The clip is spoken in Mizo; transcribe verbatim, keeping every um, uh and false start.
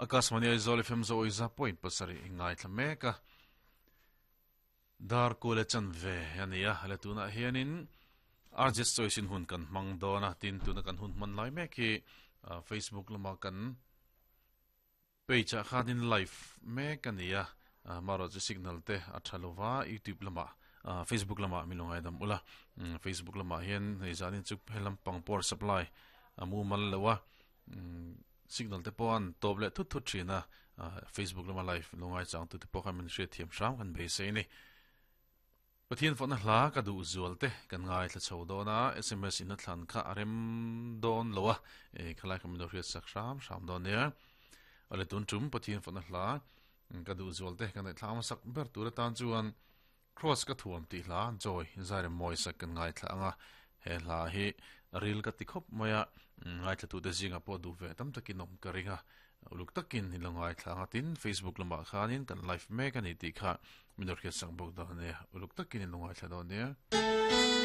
Akashvani Aizawl F M zo iza point pasari ingai thlameka dar kule chan ve ania le tuna hianin R J choice in hun kan mang dona tin tuna kan hun man lai mek hi Facebook lama kan page a khanin live mek ania maro chu signal te a thalova YouTube lama Facebook lama milongai dam ula Facebook lama hian hei zanin chu helam pangpor supply amu mal lewa signal te pon top le thut thut thina Facebook lama live longai chang tu te pawh khan min hriat thiam hram kan beisei ni Pathian fawna hla ka du zual te kan ngai thla chho dona S M S in a thlan kha arem don lowa e khalai kan min hriat sak hram hram don nia ale tun tum Pathian fawna hla ka du zual te kan thla ma sak ber tur tan chuan cross ka thuam ti hla joy zaire moi sak kan ngai thla anga he hla hi ril ka ti khop moya ngai thla tu te zinga po du ve tam takin om ka ringa uluk takin hilongai thla nga tin Facebook lama khanin kan live mek ani ti kha minor khe sang bok da ne uluk takin hilongai thla don ne.